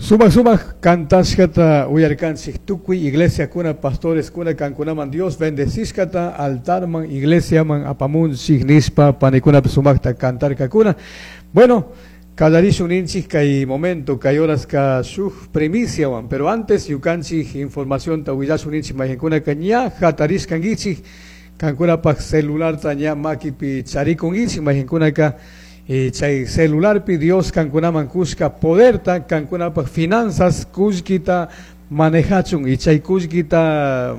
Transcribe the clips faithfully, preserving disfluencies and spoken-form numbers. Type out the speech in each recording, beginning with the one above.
Sumak sumak kantashkata uyarkanchik tukuy iglesiakuna pastoreskuna kankunaman Dios bendecishkata altarman iglesiaman apamunchik nispa panikunapi sumakta kantarkakuna. Bueno, kallarishun ninchik kay momento kay horaska shuk primiciawan, pero antes ñukanchik informacionta willashun ninchik mayqinkunaka ña hatarishkankichik kankunapaq celularta ña makipi charikunkichik mayqinkunaka eh, chay celularpi Dios kankunaman kushka poderta kankunapaq finanzas kullkita manejachun y chay kullkita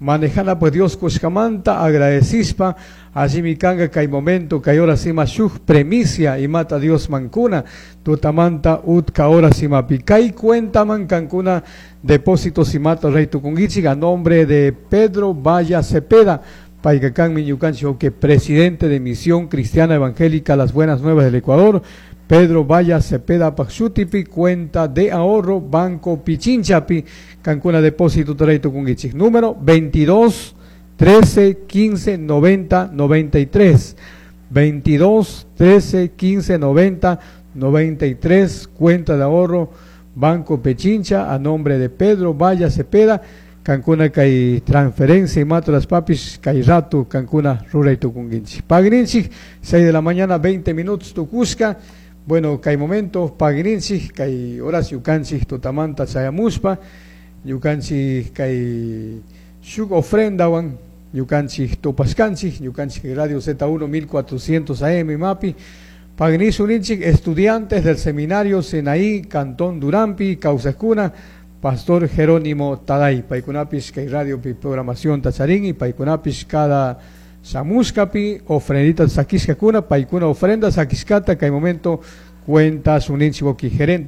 manejanapaq Dios kushkamanta agradecishpa allimi kanka kay momento kay horas ima shuk premicia imata Dios mankuna tutamanta utka horas imapi kay cuentaman kankuna depósitos imata ruray tukunkichik a nombre de Pedro Valla Cepeda payka kanmi ñukanchik que presidente de Misión Cristiana Evangélica Las Buenas Nuevas del Ecuador Pedro Valla Cepeda paj shutipi cuenta de ahorro Banco Pichinchapi kankuna depósito ruray tukunkichik número veintidós trece quince noventa noventa y tres, veintidós trece quince noventa noventa y tres, cuenta de ahorro Banco Pichincha a nombre de Pedro Valla Cepeda. Kankuna kay transferencia imata rurashpapish kay rato kankuna ruray tukunkichik. Pagrinchik, seis de la mañana veinte minutos tukushka. Bueno, kay momento pagrinchik kay horas ñukanchik tutamanta chayamushpa ñukanchik kay shuk ofrendawan ñukanchik tupashkanchik ñukanchik Radio Z uno mil cuatrocientos A M mapi. Pagrishun ninchik estudiantes del seminario Senaí Cantón Durampi kawsajkuna Pastor Jerónimo Taday paykunapish kay radiopi programación charin y paykunapish cada shamushkapi ofrendita sakishkakuna. Paykuna ofrenda sakishkata kay momento cuenta suninchik gerente.